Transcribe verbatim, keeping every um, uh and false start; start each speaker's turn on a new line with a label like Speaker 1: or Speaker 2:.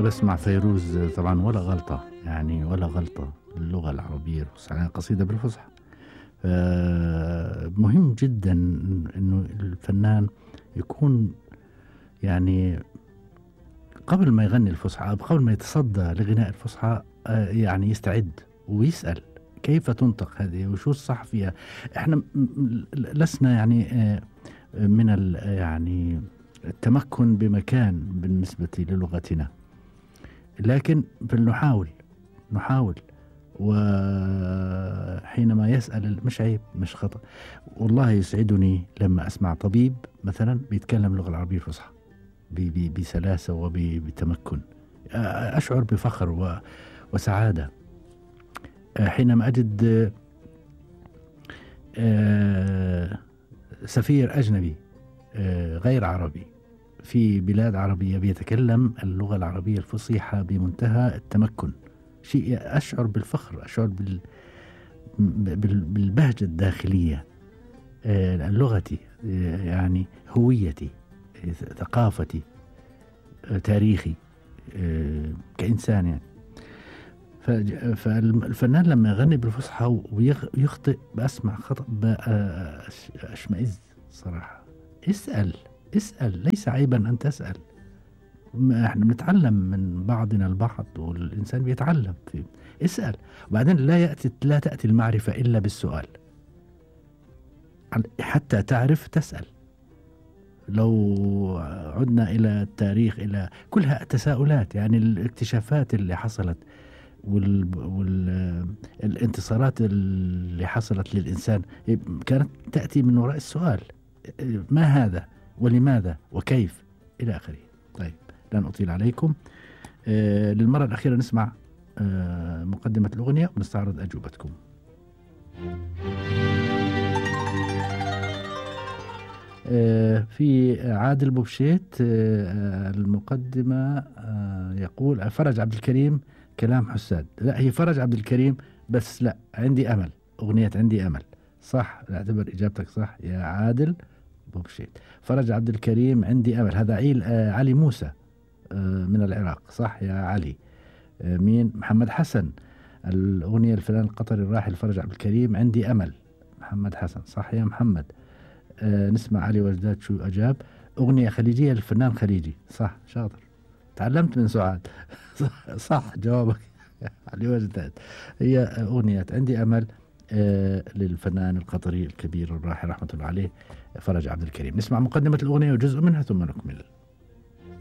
Speaker 1: بسمع فيروز طبعا، ولا غلطة يعني، ولا غلطة. اللغة العربية الفصحى قصيدة بالفصحى. مهم جدا إنه الفنان يكون يعني قبل ما يغني الفصحى، قبل ما يتصدى لغناء الفصحى يعني يستعد ويسأل كيف تنطق هذه وشو الصح فيها. احنا لسنا يعني من يعني التمكن بمكان بالنسبة للغتنا، لكن فلنحاول نحاول. وحينما يسأل مش عيب، مش خطأ. والله يسعدني لما أسمع طبيب مثلا بيتكلم اللغة العربية الفصحى بسلاسة وبتمكن، أشعر بفخر وسعادة. حينما أجد سفير أجنبي غير عربي في بلاد عربية بيتكلم اللغة العربية الفصيحة بمنتهى التمكن، شيء أشعر بالفخر، أشعر بال بالبهجة الداخلية. لغتي يعني هويتي، ثقافتي، تاريخي كإنسان يعني. فالفنان لما يغني بالفصحى ويخطئ بأسمع خطأ أشمئز صراحة. اسأل اسأل، ليس عيبا أن تسأل. احنا بنتعلم من بعضنا البعض، والإنسان بيتعلم في اسأل. وبعدين لا يأتي لا تأتي المعرفة إلا بالسؤال، حتى تعرف تسأل. لو عدنا إلى التاريخ، إلى كلها تساؤلات يعني. الاكتشافات اللي حصلت والانتصارات اللي حصلت للإنسان كانت تأتي من وراء السؤال: ما هذا ولماذا وكيف إلى آخره. طيب، لن أطيل عليكم. آه للمرة الأخيرة نسمع آه مقدمة الأغنية ونستعرض أجوبتكم. آه في عادل بوبشيت آه المقدمة آه يقول فرج عبد الكريم كلام حساد. لا، هي فرج عبد الكريم، بس لا، عندي أمل. أغنية عندي أمل صح. اعتبر إجابتك صح يا عادل بوبشيت. فرج عبد الكريم عندي أمل، هذا عيل آه علي موسى آه من العراق صح يا علي. آه مين؟ محمد حسن. الأغنية الفنان القطري الراحل فرج عبد الكريم عندي أمل. محمد حسن صح يا محمد. آه نسمع علي وجداد شو أجاب. أغنية خليجية للفنان خليجي صح. شاطر، تعلمت من سعاد. صح, صح جوابك علي وجداد. هي أغنية عندي أمل آه للفنان القطري الكبير الراحل رحمة الله عليه فرج عبد الكريم. نسمع مقدمة الأغنية وجزء منها ثم نكمل.